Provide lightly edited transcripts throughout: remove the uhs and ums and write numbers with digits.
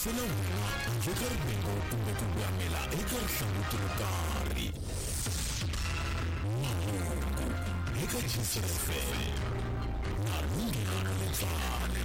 Yingisela wena handle ka rivengo kumbe ku voyamela eka rihlanguti ro karhi. Mahungu eka Jisr FM na Lunghelo Letsane.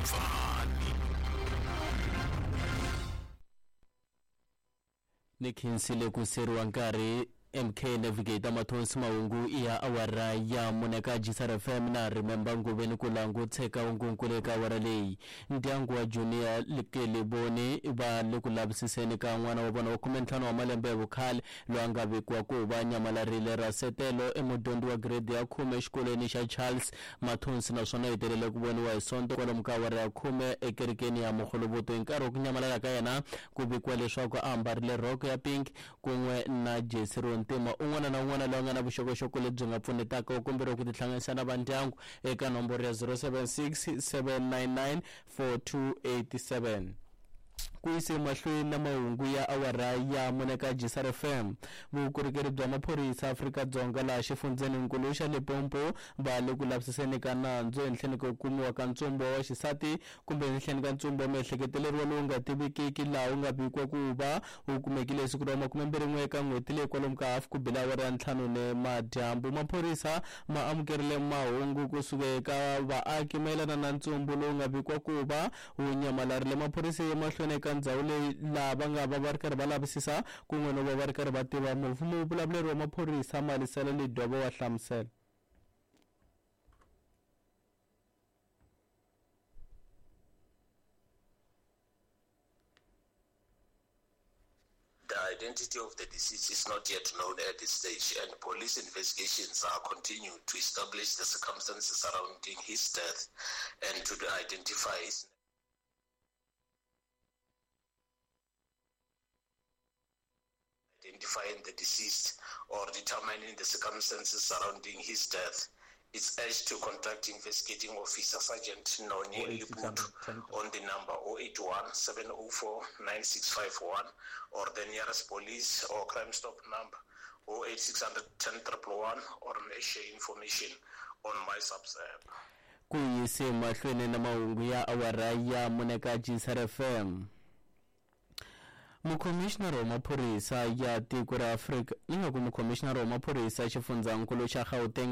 Ni khensile ku seriwa nkarhi MK Navigator Mathonsi Mahungu ya awara ya mune ka Jisar FM na Remember Nguveni ku langutsheka ungunkulu eka awara leyi. Ndyangu wa Junior Likeliboni va le ku lavisiseni ka n'wana wa vona wa 15 wa malembe ya vukhale loyi a nga vekiwa ku va nyamalarile. Rasetelo i mudyondzi wa grade ya 10 exikolweni xa Charles Mathonsi naswona hetelele ku voniwa hi Sonto kwalomu ka awara ya 10 ekerekeni ya Mogoloboto. Hi nkarhi wa ku nyamalala ka yena ku vikiwa leswaku a ambarile rhoko ya pink kun'we na jesi ro ntima. Un'wana na un'wana loyi a nga na vuxokoxoko lebyi nga pfunetaka u komberiwa ku tihlanganisa na vandyangu eka nomboro ya 076 799 4287. Ku yise emahlweni na mahungu ya awara ya mune ka Jisar FM. Vukorhokeri bya maphorisa Afrika-Dzonga laha xifundzheninkulu xa Limpopo va le ku lavisiseni ka nandzu ehenhleni ko kumiwa ka ntsumbu wa xisati kumbe ehenhleni ka ntsumbu wa miehleketeleriwa lowu nga tivikiki laha wu nga vikiwa ku va wu kumekile hi siku ra 21 eka n'hweti leyi kwalomu ka hafu ku bile awara ya 5 ni madyambu. Maphorisa ma amukerile mahungu kusuka eka vaaki mayelana na ntsumbu lowu nga vikiwa ku va wu nyamalarile. Maphorisa ya mahlweni eka ndzhawu leyi laha va nga va va ri karhi va lavisisa kun'we no va va ri karhi va tiva mufi. Muvulavuleri wa maphorisa Malisela Lidwaba wa hlamusela. The identity of the deceased is not yet known at this stage, and police investigations are continued to establish the circumstances surrounding his death and to identify his identifying the deceased or determining the circumstances surrounding his death. It's urged to contact investigating officer Sergeant Noni Liputu on the number 081 704 9651 or the nearest police or crime stop number 08600 10 111 or share information on my subs app. Ku yise mahlweni na mahungu ya awara ya mune ka Jisar FM. Mukhomishinara wa maphorisa ya tiko ra Afrika ingaku mukhomishinara wa maphorisa xifundzankulu xa Gauteng